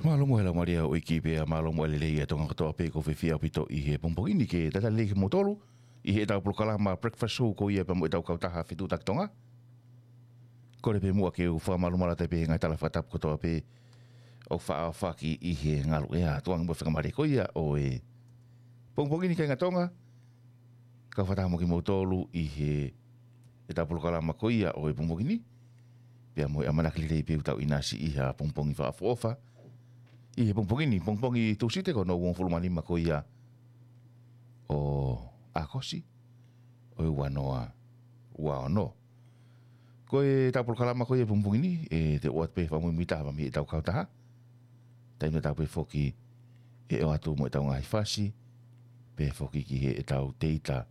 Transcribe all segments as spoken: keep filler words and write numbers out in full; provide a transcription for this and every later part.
Mālō mo e lau malia ʻo e ʻEiki pea mālō mo e lelei ʻa Tonga kotoa pē ʻoku fie ʻaupito ʻi he pongipongi ni ke talitali lelei kimoutolu ʻi heʻetau polokalama Breakfast Show ko ia pea mo ʻetau kautaha Fetuʻutaki Tonga. Kole pē muʻa ke u fakamālō maʻu atu pē he ngaahi tala fakatapu kotoa pē ʻoku faʻa ʻohofaki ʻi he ngaluʻea. Tuku ange mo e fakamālō ko ia ʻo e pongipongi ni kāinga Tonga. Kau fakataha mo kimoutolu ʻi heʻetau polokalama ko ia ʻo e pongipongi ni. Pea mo e ʻamanaki lelei pē ʻoku tau ʻinasi ʻi ha pongipongi fakaʻofoʻofa ʻi he pongipongi ni, pongipongi Tūsite ko hono uofulu mā nima ko ia ʻo ʻAokosi ʻo e ua noa ua ono. Ko ʻetau polokalama ko ia pongipongi ni, ʻe te u ʻoatu pē fakamuimuitaha mei heʻetau kautaha. Taimi tatau pē foki ʻe ʻoatu mo ʻetau ngaahi fasi, pea foki ki heʻetau teita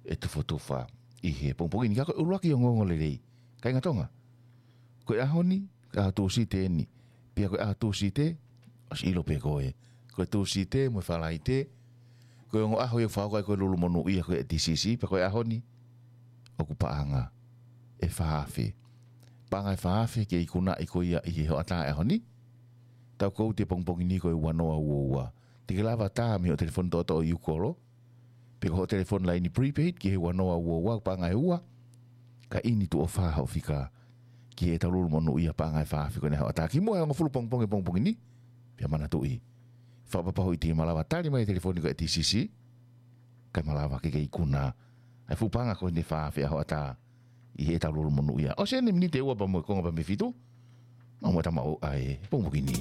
ʻe tufotufa ʻi he pongipongi ni. Ka ko e ʻuluaki ongoongo lelei, kāinga Tonga. Ko e ʻaho ni, ko e ʻaho Tūsite eni. Pea ko e ʻaho Tūsite, ʻosi ʻilo pē koe. Ko e Tūsite mo e Falaite, ko e ongo ʻaho ia ʻoku fakahoko ai ko e lulu monūʻia ko e TCC, pea ko e ʻaho ni, ʻoku paʻanga ʻe fā afe. Paʻanga ʻe fā afe ke ikunaʻi ko ia ʻi he hoʻatā ʻo e ʻaho ni. Tau kouti e pongipongi ni ko e ua noa ua ua. Te ke lava tā mei hoʻo telefoni toʻotoʻo ʻi Ukolo. Pe ko hoʻo telefoni laini prepaid ki he ua noa ua ua, paʻanga ʻe ua. Ka ʻi ni tuʻo fā hoʻo fika ki heʻetau lulu monūʻia paʻanga ʻe fā afe ko eni hoʻatā. Kimuʻa he hongofulu pongipongi pongipongi ni. Pea manatuʻi, fakapapauʻi te ke malava tali mai e telefoni ko e TCC. Kae malava ke ke ikuna ʻa e fuʻu paʻanga ko eni ʻe fā afe ʻa hoʻatā ʻi heʻetau lulu monūʻia. ʻOsi eni e miniti ʻe ua pea mo e konga pē mei he fitu. Mau mo e tama ʻo e pongipongi ni.